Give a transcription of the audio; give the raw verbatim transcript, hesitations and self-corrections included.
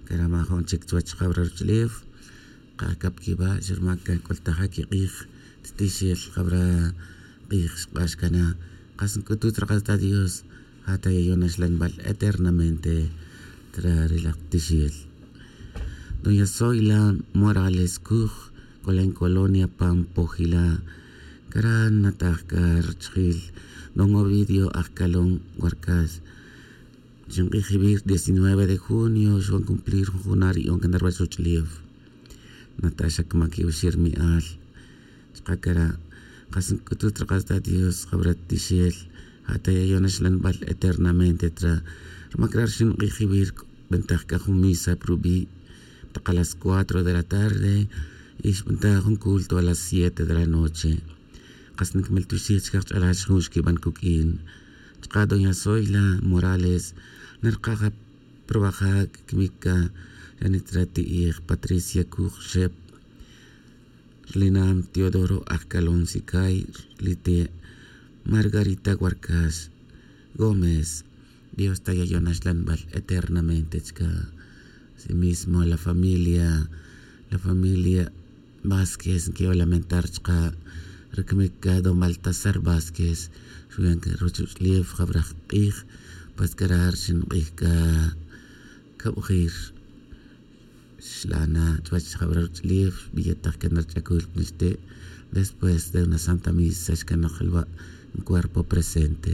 Karama jun chik chuwach jabra ruwach'uleew qakap kiba' xa ruma kan k'ultaja kiq'iij titixel jabra q'iij xq'ax kana qas nk'utut raq'atata Dios jata yayon axlanb'al eternamente tra ri laj tixel. Doña Zoila Morales Kuj k'ola en Colonia Pampojila kara nataj k'a rachijil don Ovidio Ajkalon Warkas xinq'ij jib'ir diecinueve de junio xb'an cumplir jun junaab' ri'on kan ruwach ruwach'uleew Natasha kmaki oxi' rimi'al chaqa kara' qas nk'utut raq'atata Dios jabra tixel jata yayon axlanb'al eternamente tra ruma kara' xinq'ij jib'ir b'antaj k'a jun misa pirub'i' taq a las cuatro de la tarde y xb'antaj jun culto a las siete de la noche qas nikmaltyoxij chike qach'alal jun xkib'an kuk'in chaqa doña Zoila Morales nirqaja probaja kimika yanitra ti'ij Patricia Kuj Xep Linam Teodoro Ajkalon Sikay lite Margarita Warkas Gómez Dios ta yayon axlanb'al eternamente chika asimismo la familia la familia Vázquez quiero lamentar chqa rikmika don Baltasar Vázquez xuyan ruwach uleew jabraj q'iij pues karar xinq'ij ka kab'ujir xlana chuwach jabra ruwach'uleew b'iyataj kan rich'akul pinixte' después de una santa misa xkanaj lwa' en cuerpo presente.